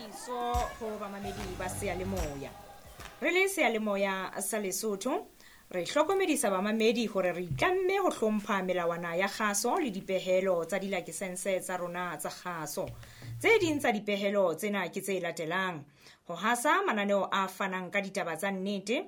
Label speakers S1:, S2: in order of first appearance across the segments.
S1: Tlhokomediso ho bamamedi ba seyalemoya. Re le seyalemoya sa Lesotho, re hlokomedisa bamamedi hore re itlamme ho hlompha melawana ya kgaso le dipehelo tsa dilakesense tsa rona tsa kgaso. Tse ding tsa dipehelo tsena ke tse latelang: ho hasa mananeo a fanang ka ditaba tsa nnete,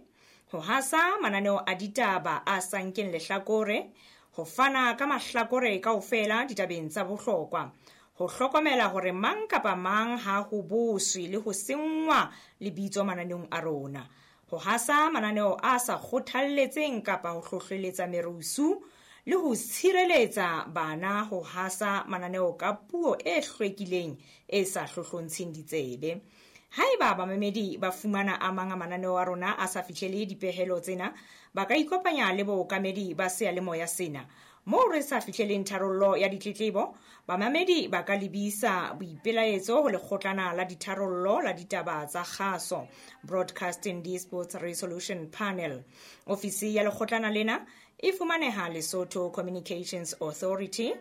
S1: ho hasa mananeo a ditaba a sa nkeng lehlakore, ho fana ka mahlakore kaofela ditabeng tsa bohlokwa, ho hlokomela hore mang kapa mang ha ho boswe le ho senngwa lebitso mananeong a rona, ho hasa mananeo a sa kgothalletseng kapa ho hlohleletsa merusu le ho tshireletsa bana ho hasa mananeo ka puo e hlwekileng e sa hlohlontsheng ditsebe. Haeba bamamedi ba fumana a mang a mananeo a rona a sa fihlele dipehelo tsena, ba ka ikopanya le bookamedi ba seyalemoya sena. Moo re sa fihleleng tharollo ya ditletlebo, bamamedi ba ka lebisa boipelaetso ho lekgotlana la ditharollo la ditaba tsa kgaso, Broadcasting Disputes Resolution Panel. Ofisi ya lekgotlana lena e fumaneha Lesotho Communications Authority,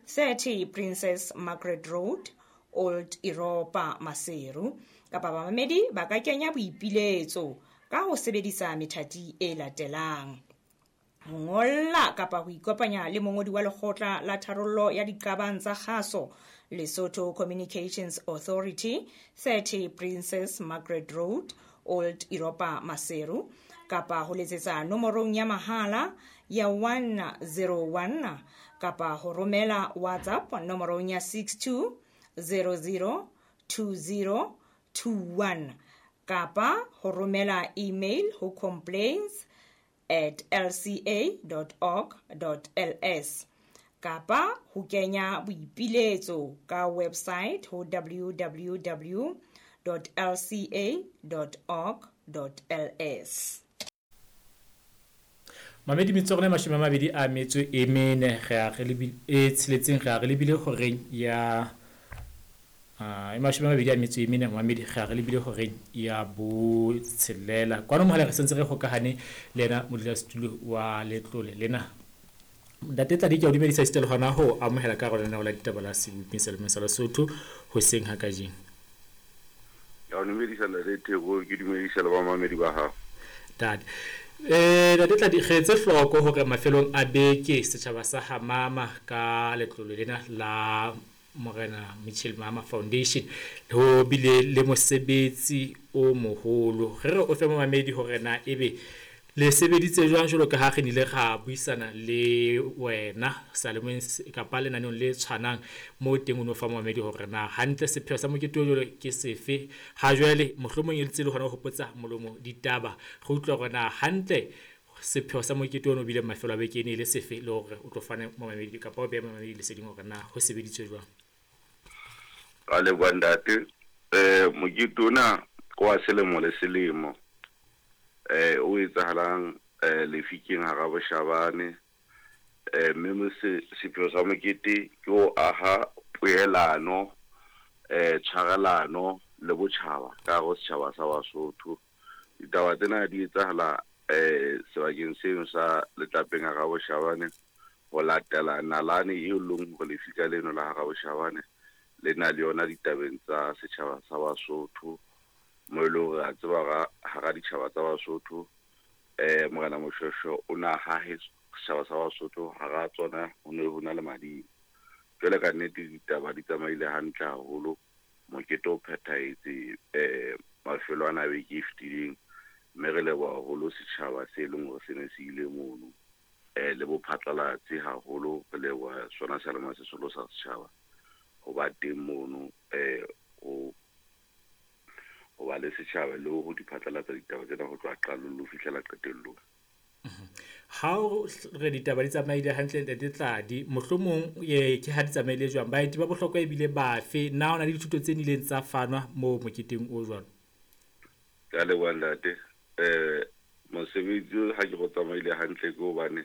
S1: 30 Princess Margaret Road, Old Europa, Maseru. Kapa bamamedi ba ka kenya boipiletso ka ho sebedisa methati e latelang: ho ngolla kapa ho ikopanya le mongodi wa lekgotla la tharollo ya diqabang tsa kgaso, Lesotho Communications Authority, 30 Princess Margaret Road, Old Europa, Maseru, kapa ho letsetsa nomorong ya mahala ya 101 kapa ho romela WhatsApp nomorong ya 62 00 20 21 kapa ho romela email ho complaints@lca.org.ls kapa ho kenya boipiletso ka website ho www.lca.org.ls.
S2: Mamedi metso rona 24 re a re lebile e tsheletseng re a re lebile horeng ya e 24 mamedi re a re lebile horeng ya botshelela. Kwano mohala re sentse re hokahane le yena modulasetulo wa letlole lena. Ntate Tladi, ke a o dumedisa esita le hona ho amohela ka hare ho lenaneo la ditaba la Seboping sa Lemong sa Lesotho hoseng ha kajeno.
S3: Ke a o dumedisa Ntate Theko, ke dumedisa le bamamedi ba hao.
S2: Ntate. Ntate Tladi, re etse hloko hore mafelong a beke setjhaba sa Hamama ka letlole lena la Morena Mitchell Mama Foundation ho bile le mosebetsi o moholo. Re re o fe momamedi hore na ebe le sebeditse jwang jwalo ka ha re nile ra buisana le wena salemeng kapa lenaneong le tshwanang moo teng o no fa momamedi hore na hantle sepheo sa mokete o jwalo ke sefe. Ha jwale mohlomong e ntse le hona ho hopotsa molomo ditaba, re utlwa hore na hantle sepheo sa mokete ono o bile mafelo a beke e ne e le sefe, le hore o tlo fane momamedi kapa o behe momamedi leseding hore na ho sebeditswe jwang.
S3: Ka leboha ntate. Mokete ona wa selemo le selemo o etsahalang Lefikeng hara Boshabane, mme sepheo sa mokete ke ho aha poelano, tshwarelano le botjhaba ka hare ho setjhaba sa Basotho. Ditaba tsena di etsahala sebakeng seno sa Letlapeng hara Boshabane ho latela nalane eo leng hore lefika leno la hara Boshabane le na le yona ditabeng tsa setjhaba sa Basotho, mo e leng hore a tseba hara ditjhaba tsa Basotho Morena Moshweshwe o na hahe setjhaba sa Basotho hara tsona ho ne ho na le madimo. Jwale ka nnete ditaba di tsamaile hantle haholo, mokete o phethahetse mafelo ana a beke e fetileng, mme re leboha haholo setjhaba se leng hore se ne se ile mono le bophatlalatsi haholo. Re leboha sona seyalemoya se seholo sa setjhaba ho ba teng mono ho ba le setjhaba le ho di phatlalatsa ditaba tsena ho tloha qalong le ho fihlela qetellong.
S2: Ha o re ditaba di tsamaile hantle Ntate Tladi, mohlomong ke ha di tsamaile jwang? Baeti ba bohlokwa ebile bafe? Na ho na le dithuto tse nileng tsa fanwa moo moketeng o jwalo?
S3: Ke a leboha ntate. Mosebetsi ha ke go tsamaile hantle ke hobane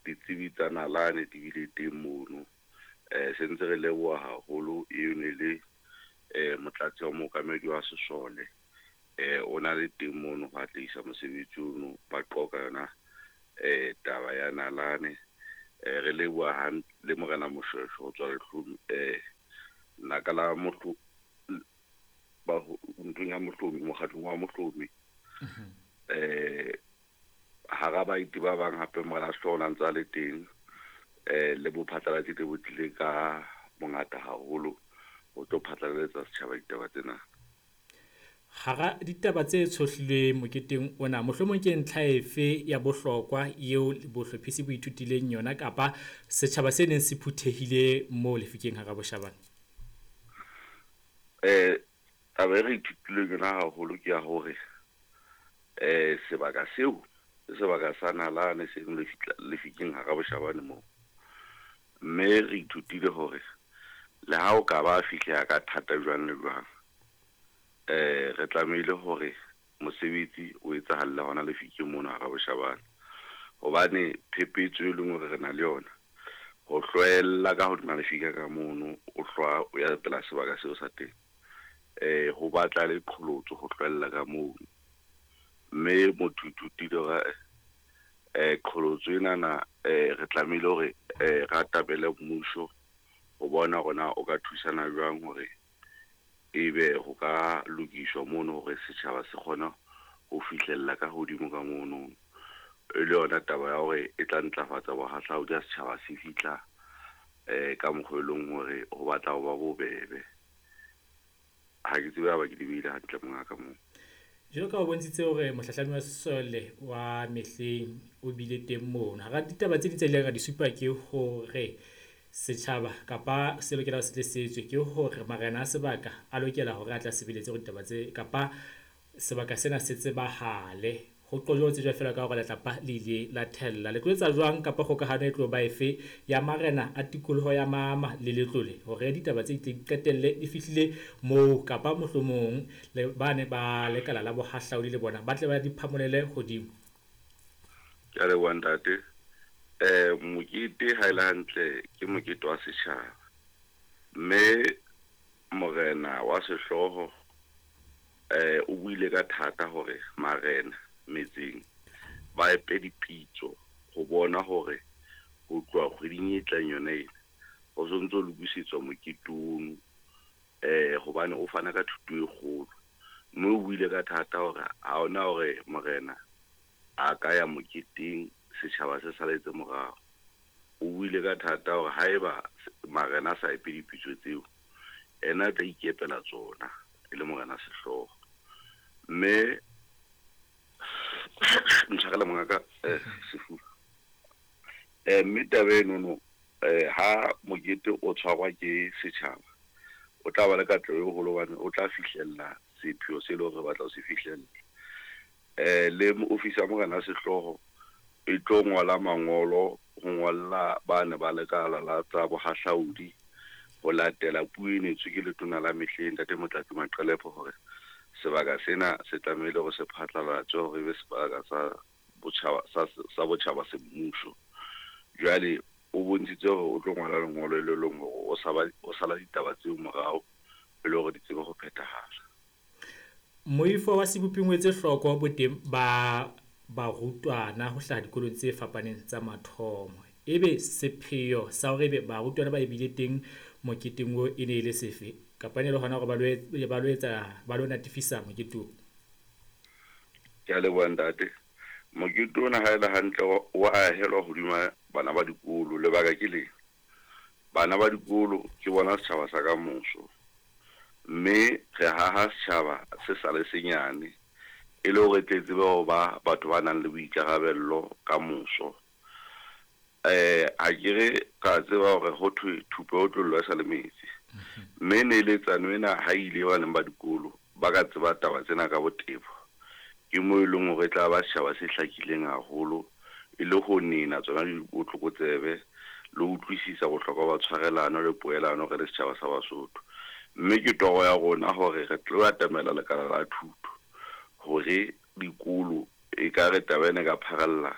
S3: ditsebi tsa nalane di bile teng mono. Se ntse re leboha haholo eo ne le motlatsi wa mookamedi wa sesole o na le teng mono ho atlehisa mosebetsi ono, ba qoka yona taba ya nalane. Re leboha le Morena Moshweshwe ho tswa Lehlong naka la nthong ya Mohlomi, mokgatlong wa Mohlomi. Hara baeti ba bang hape Morena Sehlooho o ne a ntse a le teng, le bophatlalatsi le bo tlile ka bongata haholo ho tlo phatlalaletsa setjhaba ditaba tsena.
S2: Hara ditaba tse tshohlilweng moketeng ona, mohlomong ke ntlha efe ya bohlokwa eo bohlophisi bo ithutileng yona kapa setjhaba se neng se phuthehile moo Lefikeng hara Boshabane?
S3: Taba e re ithutileng yona haholo ke ya hore sebaka seo ke sebaka sa nalane se Lefikeng hara Boshabane moo. Mme re ithutile hore le ha o ka ba fihleha ka thata jwang le jwang, re tlamehile hore mosebetsi o etsahalle hona Lefikeng mono hara Boshabane. Hobane phephetso e leng hore re na le yona, ho hlwella ka hodima lefika ka mono, o hlwa o ya pela sebaka seo sa teng. Ho batla le qholotso ho hlwella ka mono. Mme motho ithutile hore qholotso enana re tlamehile hore re atamele mmuso ho bona hore na o ka thusana jwang hore ebe ho ka lokiswa mono hore setjhaba se kgone ho fihlella ka hodimo ka mono. E le yona taba ya hore e tla ntlafatsa bohahlaudi ha setjhaba se fihla ka mokgwa e leng hore ho batla ho ba bobebe. Ha ke tsebe ha ba ke di beile hantle mongaka moo.
S2: Jwalo ka o bontshitse hore mohlahlami wa sesole wa mehleng o bile teng mono. Hara ditaba tse ding tse ileng ra di supa ke hore setjhaba kapa se lokela ho se tle se etswe ke hore marena a sebaka a lokela hore a tla sebeletse hore ditaba tse kapa sebaka sena se tsebahale. Ho qojwa ho tsejwa feela ka hore letlapa le ile la thella. Le tlo etsa jwang kapa kgokahano e tlo ba efe ya marena a tikoloho ya Mama le Letlole hore ditaba tse di qetelle di fihlile moo kapa mohlomong le bane ba lekala la bohahlaudi le bona ba tle ba di phamolele hodimo?
S3: Ke a leboha ntate. Mokete ha e le hantle ke mokete wa setjhaba. Mme morena wa sehlooho o buile ka thata hore marena metseng ba epe dipitso ho bona hore ho tloha kgweding e tlang yona ena ho sontso ho lokisetswa mokete ono, hobane o fana ka thuto e kgolo. Mme o buile ka thata hore ha hona hore morena a ka ya moketeng setjhaba se saletse morao. O buile ka thata hore haeba marena a sa epe dipitso tseo, ena a tla ikepela tsona e le morena sehlooho. Mme ntshwarele mongaka, sefuba. Mme taba enono, ha mokete o tshwarwa ke setjhaba, o tla ba le katleho e holo hobane o tla fihlella sepheo se leng hore re batla ho se fihlella. Le ofisi ya morena sehlooho e tlo ngola mangolo ho ngolla bane ba lekala la tsa bohahlaudi ho latela puo e netswe ke letona la mehleng ntate Motlatsi Maqelepo hore sebaka sena se tlamehile hore se phatlalatswe hore ebe sebaka sa botjhaba sa botjhaba semmuso. Jwale o bontshitse hore o tlo ngola lengolo le leng hore o sala ditaba tseo morao e le hore di tsebe ho phethahala.
S2: Moifo wa Seboping o etse hloko boteng ba barutwana ho hlaha dikolong tse fapaneng tsa mathomo. Ebe sepheo sa hore ebe barutwana ba ebile teng moketeng oo e ne e le sefe? Kapa e ne le hona hore ba lo etsa, ba lo natifisa mokete oo?
S3: Ke a leboha ntate. Mokete ona ha e le hantle o ahelwa hodima bana ba dikolo. Lebaka ke le, bana ba dikolo ke bona setjhaba sa kamoso. Mme re haha setjhaba se sa le senyane e le hore tle tsebe ho ba batho ba nang le boikarabello kamoso. Ha ke re ka tseba hore ho thwe thupa e otlollwa e sa le metsi. Mme neeletsano ena ha ile baneng ba dikolo ba ka tseba taba tsena ka botebo. Ke moo e leng hore e tla ba setjhaba se hlakileng haholo e le ho nena tsona dibotlokotsebe le ho utlwisisa bohlokwa ba tshwarelano le poelano re le setjhaba sa Basotho. Mme ke toro ya rona hore re tlo atamela lekala la thuto hore dikolo e ka re taba ena e ka pharalla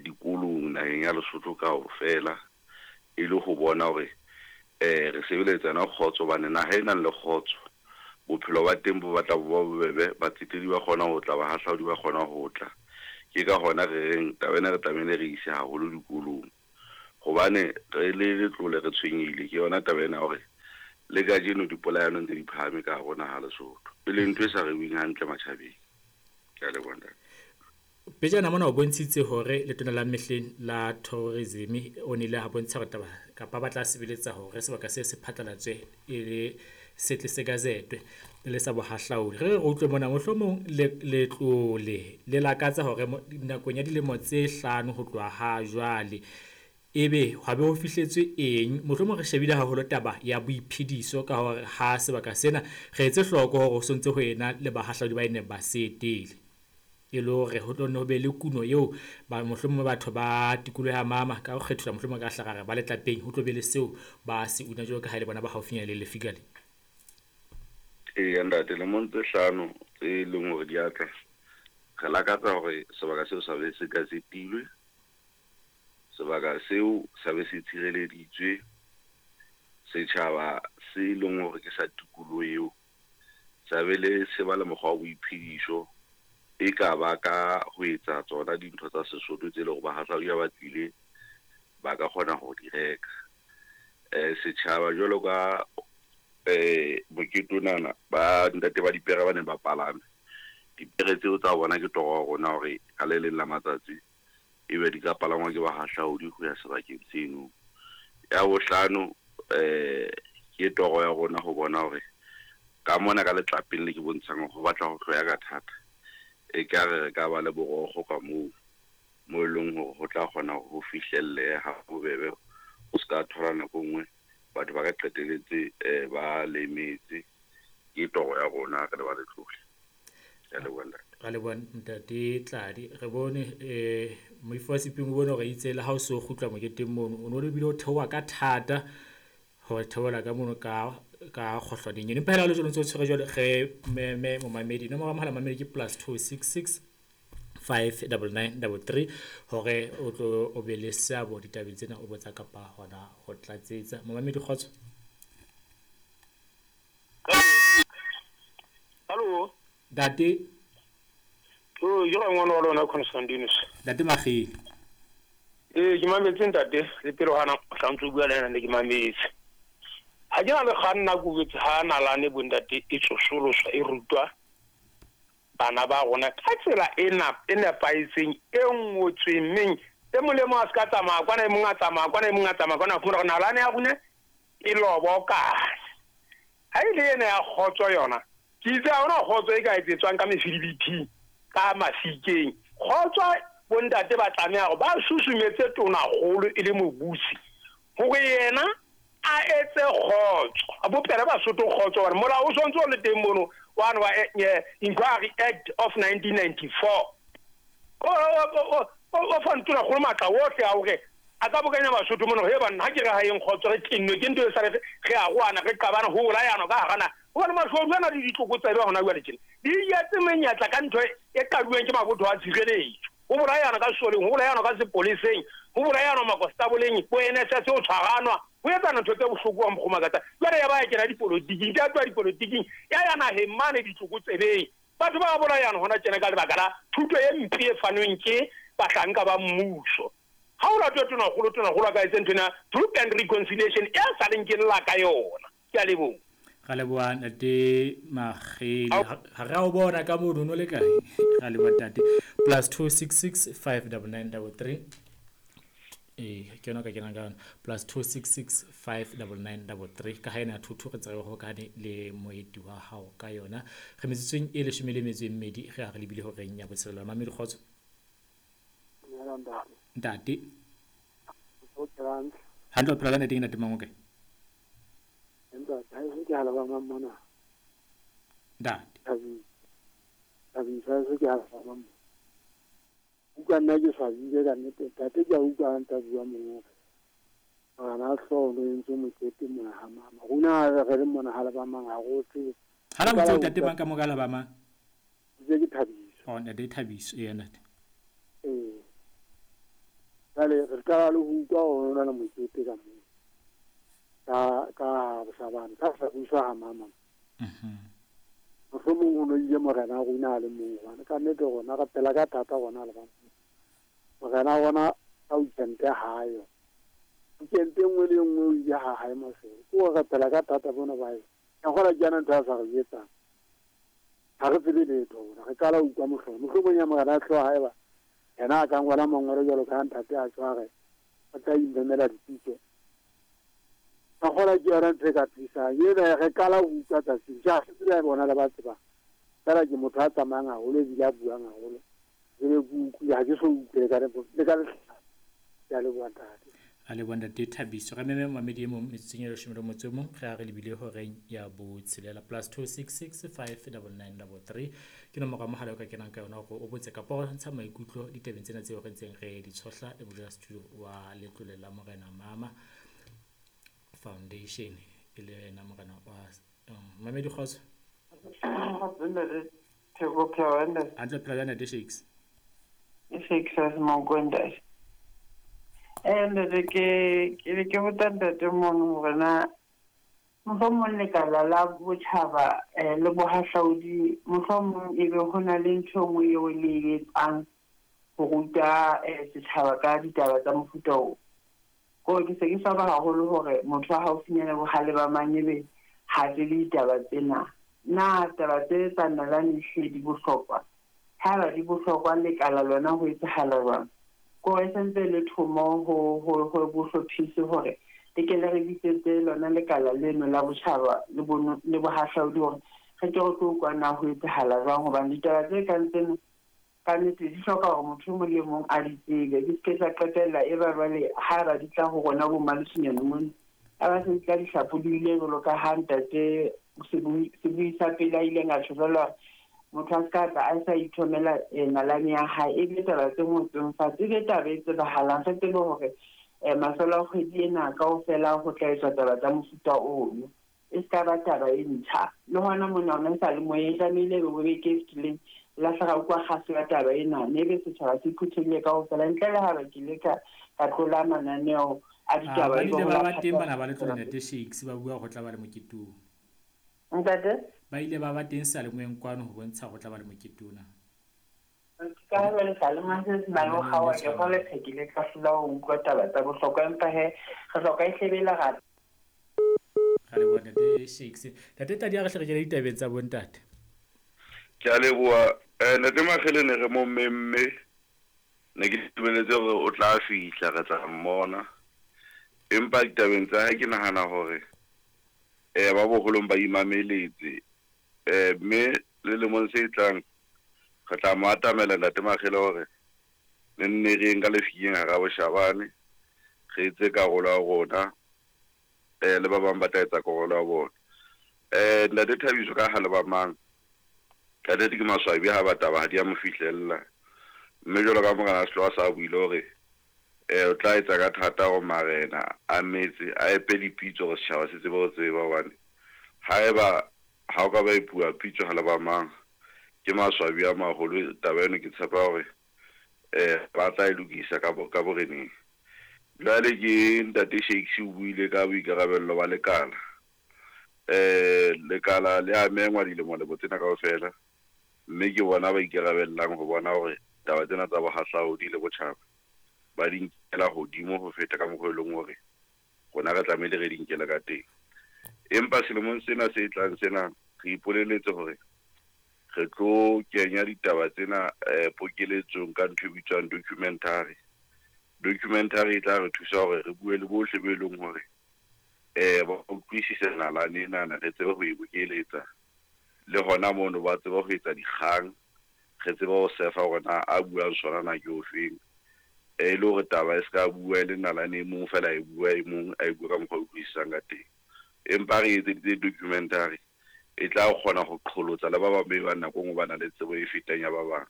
S3: dikolong naheng ya Lesotho kaofela e le ho bona hore re sebeletsa yona kgotso, hobane naha e nang le kgotso bophelo ba teng bo batla bo ba bobebe, batsetedi ba kgona ho tla, bahahlaudi ba kgona ho tla. Ke ka hona re reng taba ena re tlamehile re ise haholo dikolong, hobane re le Letlole re tshwenyehile ke yona taba ena hore Le kajeno dipolayano ntse di phahame ka hare ho naha Lesotho, e leng ntho e sa rewing hantle matjhabeng. Ke a leboha ntate.
S2: Pejana mona o bontshitse hore letona la mehleng la tourism o nile a bontsha hore taba kapa ba tla sebeletsa hore sebaka se se phatlalatswe e le setle se gazetwe e le sa bohahlaudi. Re re utlwe mona mohlomong letlole le lakatsa hore nakong ya dilemo tse 5 ho tloha ha jwale ebe hwa be ho fihletswe eng. Mohlomong re shebile haholo taba ya boiphediso ka hore ha sebaka sena re etse hloko hore ho sontse ho ena le bahahlaudi ba neng ba se etele, e le hore ho tlo nne ho be le kuno eo ba mohlomong batho ba tikoloho ya Mama ka ho kgethola mohlomong ka hlagare ba letlapeng ho tlo be le seo ba se una jwalo ka ha e le bona ba haufinyana le lefika le.
S3: Eya ntate, lemong tse 5 tse leng hore di a tla, re lakatsa hore sebaka seo sa be se gazetilwe, sebaka seo sa be se tshireleditswe, setjhaba se leng hore ke sa tikoloho eo sa be le se ba le mokgwa wa boiphediso, e ka ba ka ho etsa tsona dintho tsa Sesotho tse leng hore bahahlaudi ha ba tlile ba ka kgona ho di reka. Setjhaba jwalo ka mokete onana ba ntate ba dipere ba neng ba palame dipere tseo tsa bona, ke toro ya rona hore ka le leng la matsatsi ebe di ka palangwa ke bahahlaudi ho ya sebakeng seno. Ya bohlano, ke toro ya rona ho bona hore ka mona ka letlapeng le ke bontshang ho batla ho hloya ka thata, e ka re re ka ba le borokgo ka moo mo e leng hore ho tla kgona ho fihlelleha ha bobebe, o ska thola nako e nngwe batho ba ka qetelletse ba lemetse. Ke toro ya rona re le ba letlole. Ke a leboha ntate.
S2: Ra leboha ntate Tladi. Re bone moifo wa Seping o bone hore itse le ha o so kgutla moketeng mono o no le bile o theoha ka thata ho theohela ka mono ka kgohlwaneng eno. Empa hela le jwalo ntse o tshwere jwalo re meme momamedi. Nomoro ya mohala mamedi ke +266 599 33 hore o tlo o be le seabo ditabeng tsena o botsa kapa hona ho tlatsetsa. Momamedi kgotso.
S4: Hallo.
S2: Ntate.
S4: Oh, ke ngwana wa lona Constantinus.
S2: Ntate Magile.
S4: Ke mametse ntate le pele hana hlantse bua le ena ne ke mametse. Ha ke na le kganna go botse ha nalane bo ntate e tsosoloswa e rutwa bana ba rona ka tsela ena e nepahetseng e ngotsweng meng e molemo a se ka tsamaya kwana e mong a tsamaya kwana e mong a tsamaya kwana fumana hore nalane ya rona e lobokane. Ha e le ena ya kgotso yona ke itse ha hona kgotso e ka etsetswang ka mefidibithing ka mafikeng. Kgotso bontate ba tlameha hore ba susumetse tonakgolo e le mobusi hore yena a etse kgotso, a bopele Basotho kgotso hobane molao o sontse o le teng mono one wa Inquiry Act of 1994 o fa tonakgolo matla ohle a hore a ka bokanya Basotho mono he banna ha ke re ha eng kgotso re tennwe ke ntho e sa re a roana re qabana ho bolayana ka hara naha. Hobane mashodu ana le ditlokotsebe hona jwale tjena di etse menyetla ka ntho e qaduweng ke mabotho a tshireletso, ho bolayana ka sesoleng, ho bolayana ka sepoleseng, ho bolayana makostaboleng, bo NSS ho tshwaranwa, ho etsana ntho tse bohloko wa mokgomakatsa. Jwale ya ba ya kena dipolotiking, ke a tloha dipolotiking ya ya naheng mane ditlokotsebeng. Batho ba bolayana hona tjena ka lebaka la thuto e mpe e fanweng ke bahlanka ba mmuso. Ha o latwe tonakgolo a ka etse ntho ena truth and reconciliation e sa leng ke lla ka yona. Ke a leboha.
S2: Ra leboha ntate Magele. Ha re a o bona ka mono no le kae? Ra leboha ntate. +266 599 33. Ke yona ka kenang ka yona. +266 599 33. Ka ha ena thuthu re tsebe ho kane le moeti wa hao ka yona. Re metsotsong e 12 re a re lebile horeng ya botshelela. Mamedi kgotso. Ntate. Hantle o phela ka ntate ntate mang o kae?
S5: Ntate, ha se ke halaba mona.
S2: Ntate.
S5: Thabisa se ke halaba mona. Utlwa nna ke swabile ka nnete, ntate ke a utlwa nta bua mona. Ngwana hlooho o entse mokete mona ha mama. Rona re le mona halaba mang ha re o tsebe.
S2: Ha la botsa ntate mang ka mo ka halaba mang?
S5: Ke Thabiso.
S2: Oh, ntate Thabiso, ee ntate.
S5: Ee. Jwale re qala le ho utlwa hore ho na le mokete ka moo. Ka Bosabane, ka sa buswa ha mama. Mohlomong ho no ile morena a rona a le mong hobane ka nnete rona re phela ka thata rona le bana. Morena wa rona ka weekend hayo. Weekend e nngwe le e nngwe o ile ha hae Maseru. Ke ho rapela ka thata bona ba hae. Ka kgola ke yona ntho a sa re jwetsang. Ha re tsebe letho rona. Re qala ho utlwa mohlolo. Mohlomong ya morena a tloha haeba yena a ka ngola mangolo jwalo ka ha ntate a tjho a re o tla imemela dipitso. Ka kgola ke yona ntho e ka thusang. Ena re qala ho utlwa tsatsing. Ja se tsebe bona le ba tsebang. Fela ke motho a tsamayang haholo ebile a buang haholo. Ke be ke utlwile ha ke so utlwe le ka le ka lehlano. Ke a leboha ntate.
S2: A leboha ntate Thabiso. Re meme mamedi e mong metsotsong e 11 re a re lebile horeng ya botshelela +266 59933 ke nomoro ya mohala o ka kenang ka yona hore o botse kapa o ntsha maikutlo ditabeng tsena tseo re ntseng re di tshohla le modulasetulo wa letlole la Morena Mama Foundation e le yena morena wa mamedi kgotso.
S6: Theko phela ntate.
S2: Hantle phela jwang ntate Shakes?
S6: Shakes a se monko ntate. Ntate ke be ke botsa ntate mono hore na mohlomong lekala la botjhaba le bohahlaudi mohlomong ebe ho na le ntho e nngwe eo le e etsang ho ruta setjhaba ka ditaba tsa mofuta oo. Kore ke se ke swaba haholo hore motho wa haufinyane bohale ba mang ebe ha tsebe ditaba tsena. Na taba tse tsa nalane ehlile di bohlokwa? Haeba di bohlokwa lekala lona ho etsahala jwang? Kore e sentse e le thomo ho bohlophisi hore le ke le re bitsetse lona lekala leno la botjhaba le le bohahlaudi hore re ke re tlo utlwa na ho etsahala jwang hobane ditaba tse kang tsena ka nnete di hloka hore motho e mong le mong a di tsebe. Di se ke tsa qetella e ba jwale haeba di tla ho rona bo mmalesonyane mona a ba se di tla di hlapolohile jwalo ka ha ntate sebui sa pele a ileng a tjho jwalo hore motho a se ka tla a sa ithomela nalane ya hae e be taba tse ngotsweng fatshe e be taba e tsebahalang re tsebe hore mafelo a kgwedi ena kaofela ho tla etswa taba tsa mofuta ono e se ka ba taba e ntjha le hona mona hona e sa le moyeng tlamehile ebe bo beke e fetileng lahla ra utlwa kgaso ya taba ena mme ebe setjhaba se phuthehile kaofela ntle le haeba ke ile ka tlola mananeo a ditaba
S2: Ba
S6: ebe
S2: ile
S6: ho
S2: ba
S6: la
S2: ba teng bana ba letlole
S6: phatlalatsa.
S2: ntate Shakes ba bua ho tla ba le mokete oo.
S6: Ntate?
S2: Ba ile ba ba teng seyalemoyeng kwano ho bontsha ho tla ba le mokete ona.
S6: Ka ha jwale seyalemoya se se na le ho
S2: Lenaneong le
S6: kgaoha ke
S2: tshwanang.
S6: kgolwa ke ile ka hlola ho utlwa taba tsa bohlokwa empa he re hloka e hle be lerata.
S2: Ra leboha ntate Shakes. Ntate Tladi a re hle re kene ditabeng tsa bontate.
S3: Ke a leboha. Ntate Makgele ne re mo memme ne ke lebeletse hore o tla fihla re tla mmona. Empa ditabeng tsa hae ke nahana hore ba boholong ba imameletse. Mme le lemong se tlang re tla mo atamela ntate Makgele hore ne nne re yeng ka lefikeng hara boshabane re etse karolo ya rona le ba bang ba tla etsa karolo ya bona. Ntate Thabiso ka ha le ba mang ka nnete ke maswabi ha ba taba ha di a mo fihlella. Mme jwalo ka morena Sehloho sa buile hore o tla etsa ka thata hore marena a metse a epe dipitso hore setjhaba se tsebe ho tseba hobane haeba ha o ka ba epuwa pitso ha le ba mang ke maswabi a maholo taba eno ke tshepa hore ba tla e lokisa ka boreneng. Jwale ke ntate Shakes o buile ka boikarabello ba lekala. Lekala le a mengwa dilemo-lemo tsena kaofela mme ke bona ba ikarabellang ho bona hore taba tsena tsa bohahlaudi le botjhaba ba di nkela hodimo ho feta ka mokgwa e leng hore rona re tlamehile re di nkele ka teng. Empa selemong sena se tlang sena re ipoleletse hore re tlo kenya ditaba tsena pokeletsong ka ntho e bitswang documentary. Documentary e tla re thusa hore re bue le bohle be leng hore ba utlwisise nalane enana re tsebe ho e bokeletsa le hona mono ba tsebe ho etsa dikgang re tsebe ho sefa hore na a buang sona na ke ofeng. E le hore taba e se ka bua e le nalane e mong fela e bua e mong a e bua ka mokgwa o utlwisisang ka teng. Empa re etseditse documentary e tla kgona ho qholotsa le ba bang be bang nako e nngwe ba na le tsebo e fetang ya ba bang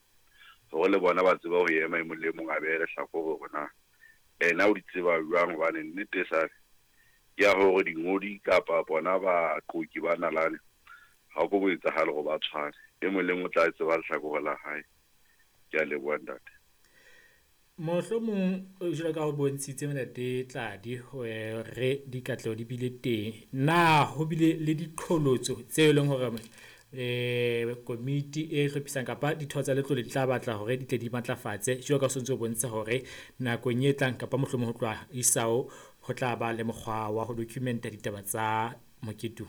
S3: hore le bona ba tsebe ho ema e mong le e mong a behe lehlakore hore na ena o di tseba jwang hobane nnete e sale ke ya hore dingodi kapa bona baqoki ba nalane ha o ko bo etsahale hore ba tshwane. E mong le mong o tla tseba lehlakore la hae. Ke a leboha ntate.
S2: Mohlomong jwalo ka o bontshitse ntate Tladi hore dikatleho di bile teng. Na ho bile le diqholotso tse leng hore komiti e hlophisang kapa ditho tsa letlole di tla batla hore di tle di matlafatse jwalo ka o sontso o bontsha hore nakong e tlang kapa mohlomong ho tloha isao Ho tla ba le mokgwa wa ho dokumenta ditaba tsa mokete